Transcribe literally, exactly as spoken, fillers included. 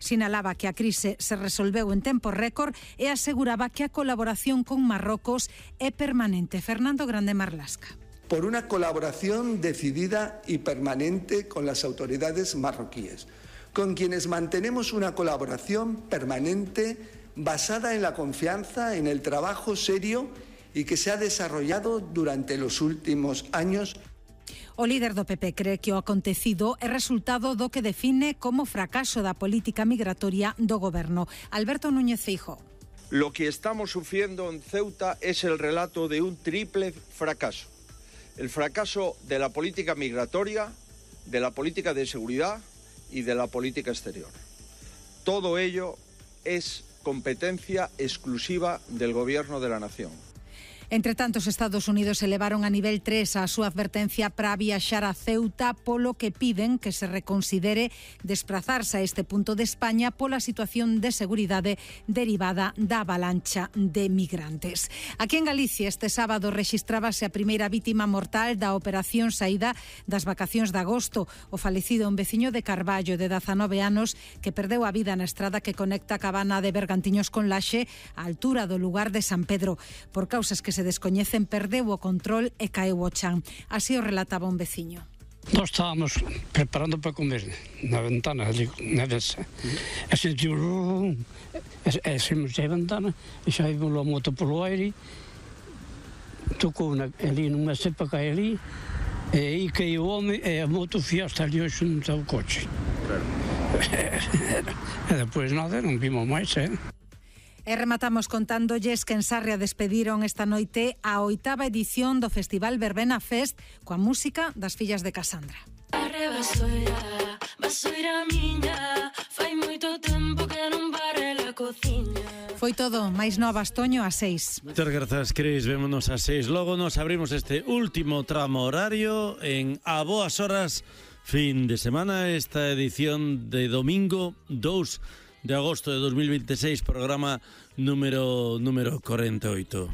Sinalaba que a crise se resolveu en tempo récord e aseguraba que a colaboración con Marrocos é permanente. Fernando Grande Marlasca. Por una colaboración decidida y permanente con las autoridades marroquíes, con quienes mantenemos una colaboración permanente basada en la confianza, en el trabajo serio y que se ha desarrollado durante los últimos años. O líder do P P cree que o acontecido é resultado do que define como fracaso da política migratoria do goberno. Alberto Núñez Feijóo. Lo que estamos sufriendo en Ceuta es el relato de un triple fracaso. El fracaso de la política migratoria, de la política de seguridad y de la política exterior. Todo ello es competencia exclusiva del Gobierno de la Nación. Entre tanto, os Estados Unidos elevaron a nivel tres a súa advertencia para viaxar a Ceuta, polo que piden que se reconsidere desplazarse a este punto de España pola situación de seguridade derivada da avalancha de migrantes. Aquí en Galicia este sábado rexistrábase a primeira vítima mortal da operación saída das vacacións de agosto. O falecido un veciño de Carballo de dezanove anos que perdeu a vida na estrada que conecta a Cabana de Bergantiños con Laxe á altura do lugar de San Pedro. Por causas que se se descoñecen, perdeu o control e caeu o chan. Así o relataba un veciño. Nós estábamos preparando para comer na ventana, ali, na mesa. E sentiu... E saímos da ventana, e xa vimos a moto polo aire, tocou na, ali numa cepa que hai ali, e aí caiu o home, e a moto fiaste ali xunto ao coche. Claro. E depois nada, non vimos máis, eh? E rematamos contándolles que en Sarria despediron esta noite a oitava edición do Festival Verbena Fest coa música das fillas de Casandra. Foi todo, máis novas, Toño, a seis. Moitas grazas, Cris, vémonos a seis. Logo nos abrimos este último tramo horario en A Boas Horas, fin de semana, esta edición de domingo dous de agosto de dos mil veintiséis, programa número número cuarenta y ocho.